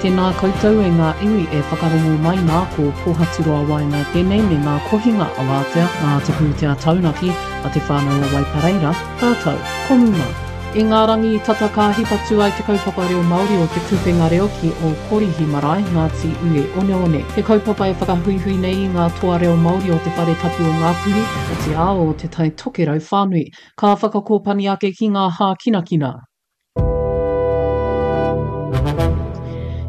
Tēnā koutou e ngā iwi e whakarongo mai nā, ko Pōhaturoa Waenga tēnei me ngā kohinga awatea nā te pūtea taunaki a Te Whānau o Waipareira, rātou ko Muma. I ngā rangi tata ka hipa tū ai te kaupapa reo Māori o Te Kupenga Reo ki Ōkorihi Marae, Ngāti Ue Oneone. He kaupapa e whakahuihui nei i ngā toa reo Māori o Te Whare Tapu o Ngāpuhi, otirā o Te Tai Tokerau whānui. Ka whakakōpani ake ki ngā hākinakina.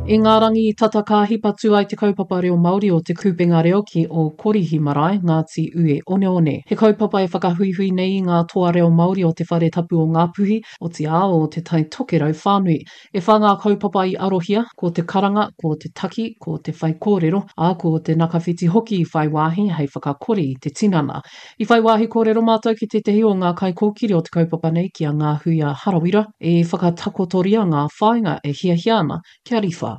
I ngā rangi tata ka hipa tū ai te kaupapa reo Māori o Te Kupenga Reo ki Ōkorihi Marae, Ngāti Ue Oneone. He kaupapa e whakahuihui nei i ngā toa reo Māori o Te Whare Tapu o Ngāpuhi, otirā o Te Tai Tokerau whānui. E whā ngā kaupapa i arohia, ko te karanga, ko te taki, ko te whaikōrero, ā, ko te nakawhiti hoki i whai wāhi hei whakakori i te tinana. I whai wāhi kōrero mātou ki tētehi o ngā kaikōkiri o te kaupapa nei ki a Ngāhuia Harawira, i whakatakotoria ngā whāinga e hiahia ana kia riwha.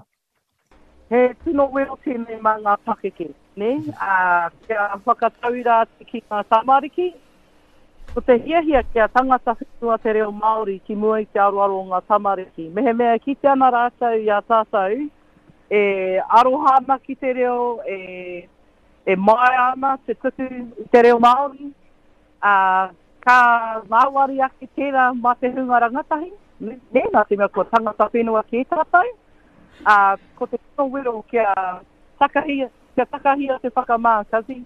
He tino wero tēnei mā ngā pakeke, nē, ā, kia whakatauira atu ki ngā tamariki. Ko te hiahia kia tangata whenua te reo Māori ki mua i te aroaro o ngā tamariki. Mehemea e kite ana rātou i a tātou e aroha ana ki te reo, e e māia ana te tuku i te reo Māori, ā, ka ngāwari ake tērā mā te hunga rangatahi, nē, nā te mea kua tangata whenua kē tātou, ā, ko te tino wero kia takahia, kia takahia te whakamā, Cuzzy.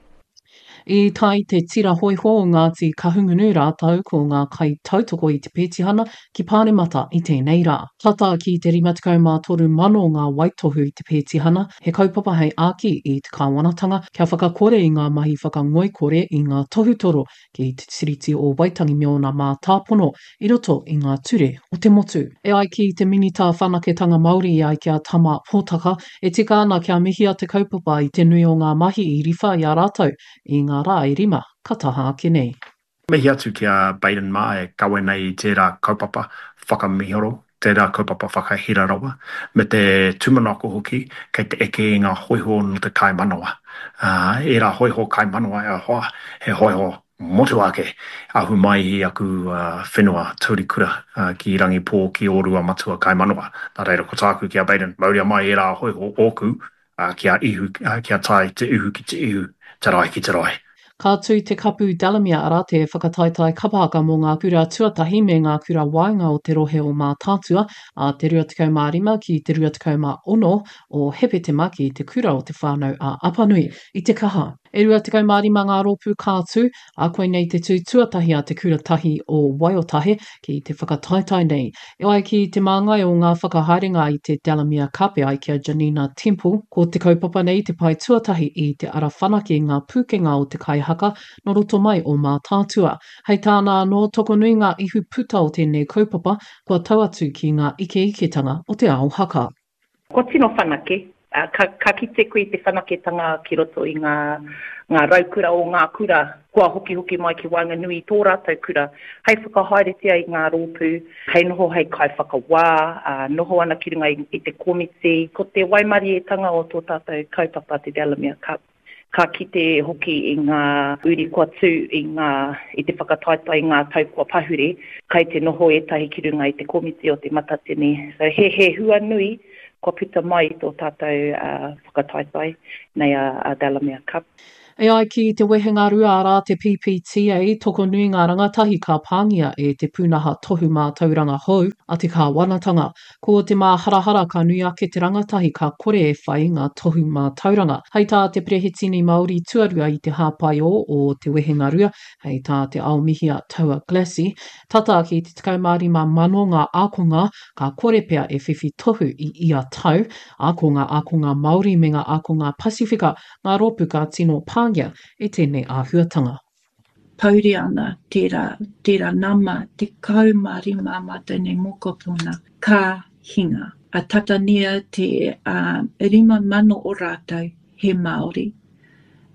I tae te tira hōiho o Ngāti Kahungunu rātou ko ngā kaitautoko i te pētihana ki Pāremata i tēnei rā. Tata ki te 53,000 ngā waitohu i te pētihana, he kaupapa hei āki i te kāwanatanga kia whakakore i ngā mahi whakangoikore i ngā tohutoro ki te Tiriti o Waitangi me ōna mātāpono i roto i ngā ture o te motu. E ai ki te Minita Whanaketanga Māori e ai ki a Tama Potaka, e tika ana kia mihia te kaupapa i te nui o ngā mahi i riwha i a rātou i ngā rā e rima ka taha ake nei. Mihi atu ki a Baden mā e kawe nei i tērā kaupapa whakamihoro, tērā kaupapa whakahira rawa, me te tūmanako hoki kei te eke i ngā hōiho nō te kaimanawa. Ā, ērā hōiho kaimanawa e hoa, he hōiho motuhake, ahu mai i aku whenua taurikura ki Rangipō, ki Ōruamatua kaimanawa. Nā reira, ko tāku ki a Baden, mauria mai ērā hōiho ōku, ā, kia ihu, ā, kia tae te ihu ki te ihu, te rae ki te rae. Ka tū te Kapu Delamere, arā, te whakataetae kapa haka mō ngā kura tuatahi me ngā kura waenga o te rohe o Mātaatua, ā te 25 ki te 26 o Hepetema ki Te Kura o Te Whānau a Apanui i Te Kaha. E 25 ngā rōpū ka tū, ā, koinei te tū tuatahi a Te Kura Tahi o Waiotahe ki te whakataetae nei. E ai ki te māngai o ngā whakahaerenga i te Delamere Cup e ai ki a Janina Temple, ko te kaupapa nei te pae tuatahi i te ara whanake i ngā pūkenga o te kaihaka nō roto mai o Mātaatua. Hei tāna anō, tokonui ngā ihu puta o tēnei kaupapa kua tau atu ki ngā ikeiketanga o te ao haka. Kua tino whanake, ka, ka kite koe i te whanaketanga ki roto i ngā, ngā raukura o ngā kura kua hokihoki mai ki waenganui i tō rātou kura hei whakahaeretia i ngā rōpū, hei noho hei kaiwhakawā, ā, noho ana ki runga i, i te komiti. Ko te waimarietanga o tō tātou kaupapa te Delamere Cup, Ka kite hoki i ngā uri kua tū i ngā, i te whakataetae i ngā tau kua pahure, kai te noho ētahi ki runga i te komiti o Te Matatini. So he, he hua nui kua puta mai i tō tātou whakataetae nei a, a Delamere Cup. E ai ki te wehenga rua arā te PPTA, tokonui ngā rangatahi ka pāngia e te pūnaha tohu mātauranga hou a te kāwanatanga. Ko te māharahara ka nui ake te rangatahi ka kore e whai ngā tohu mātauranga. Hei tā te Perehitini Māori tuarua i te hāpaiō o te wehengarua, hei tā Te Aomihia Taua Glassey, tata ki te 15,000 ngā ākonga ka kore pea e whiwhi tohu i ia tau, ā, ko ngā ākonga Māori me ngā ākonga Pasifika ngā rōpū ka tino pāngia e tēnei āhuatanga. Pouri ana tērā, tērā nama 15 ā mātou nei mokopuna ka hinga. A tatania te 5,000 o rātou he Māori.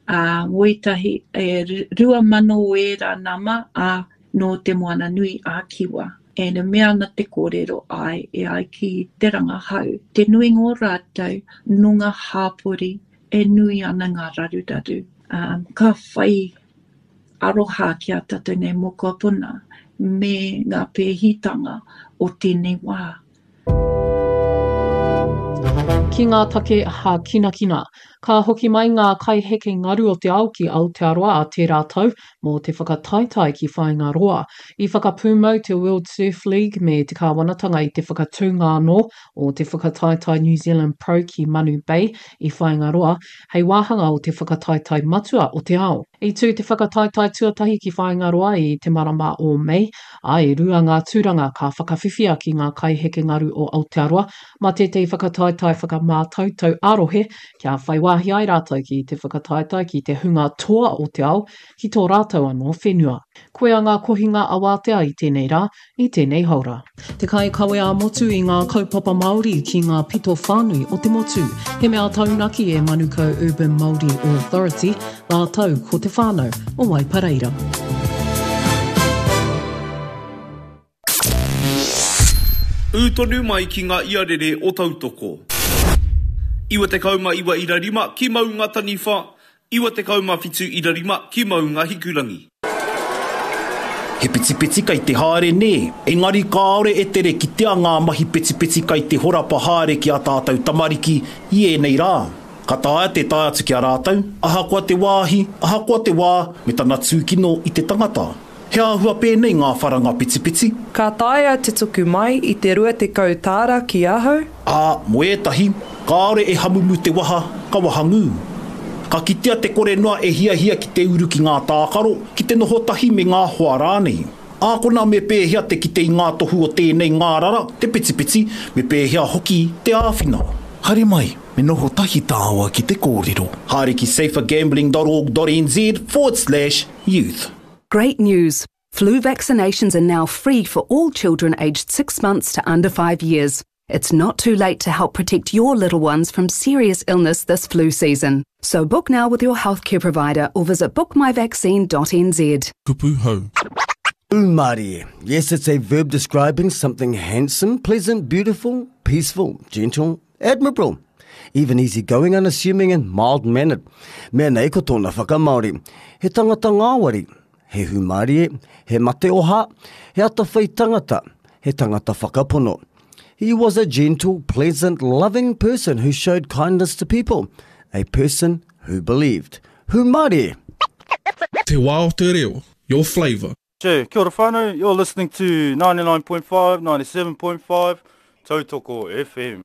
Ā, wētahi, e 2,000 o ērā nama, ā, nō Te Moana Nui a Kiwa. And e mea ana te kōrero, āe, e ai ki te rangahau, te nuinga o rātou nō ngā hāpori e nui ana ngā raruraru, ā, ka whai aroha ki a tātou nei mokopuna me ngā pēhitanga o tēnei wā. Ki ngā take hākinakina. Ka hoki mai ngā kaiheke ngaru o te ao ki Aotearoa ā tērā tau mō te whakataetae ki Whāingaroa. I whakapūmau te World Surf League me te kāwanatanga i te whakatūnga anō o te whakataetae New Zealand Pro ki Manu Bay i Whāingaroa hei wāhanga o te whakataetae matua o te ao. I tū te whakataetae tuatahi ki Whāingaroa i te marama o Mei, ā, e rua ngā tūranga ka whakawhiwhia ki ngā kaiheke ngaru o Aotearoa mā tētahi whakataetae whakamātautau ā-rohe kia whai wāhi ai rātou ki te whakataetae ki te hunga toa o te ao ki tō rātou anō whenua. Koia ngā kohinga awātea i tēnei rā, i tēnei haora. Te kaikawe ā-motu i ngā kaupapa Māori ki ngā pito whānui o te motu. He mea taunaki e Manukau Urban Māori Authority rātou ko te whānau o Waipareira. Ū tonu mai ki ngā iarere o Tautoko. 99 ira rima ki Maungataniwha, 97 ira rima ki Maungahikurangi. He petipeti kei te haere nē, engari kāore e tere kitea ngā mahi petipeti kei te horapa haere ki ā tātou tamariki i ēnei rā. Ka taea te tae atu ki a rātou, ahakoa te wāhi, ahakoa te wā, me tana tūkino i te tangata. He āhua pēnei ngā wharanga petipeti. Ka taea te tuku mai i te 20 tāra ki ahau? Ā, mō ētahi, kāore e hamumu te waha, ka wahangū. Ka kitea te kore noa e hiahia ki te uru ki ngā tākaro, ki te noho tahi me ngā hoa rānei. Ākona me pēhea te kite i ngā tohu o tēnei ngārara, te petipeti, me pēhea hoki te āwhina. Haere mai, me noho tahi tāua ki te kōrero. Haere ki safergambling dot org dot nz forward slash youth. Great news! Flu vaccinations are now free for all children aged 6 months to under 5 years. It's not too late to help protect your little ones from serious illness this flu season. So book now with your healthcare provider or visit bookmyvaccine.nz. Kupu hou. Umari. Yes, it's a verb describing something handsome, pleasant, beautiful, peaceful, gentle, admirable. Even easygoing, unassuming and mild-mannered. Mea nei ko tōna whakamāori. He tangata ngāwari, he hūmārie, he mate oha, he atawhai tangata, he tangata whakapono. He was a gentle, pleasant, loving person who showed kindness to people, a person who believed. Hūmārie! Te wā o te reo, your flavour. Che, kia ora whānau, you're listening to 99.5, 97.5, Tautoko FM.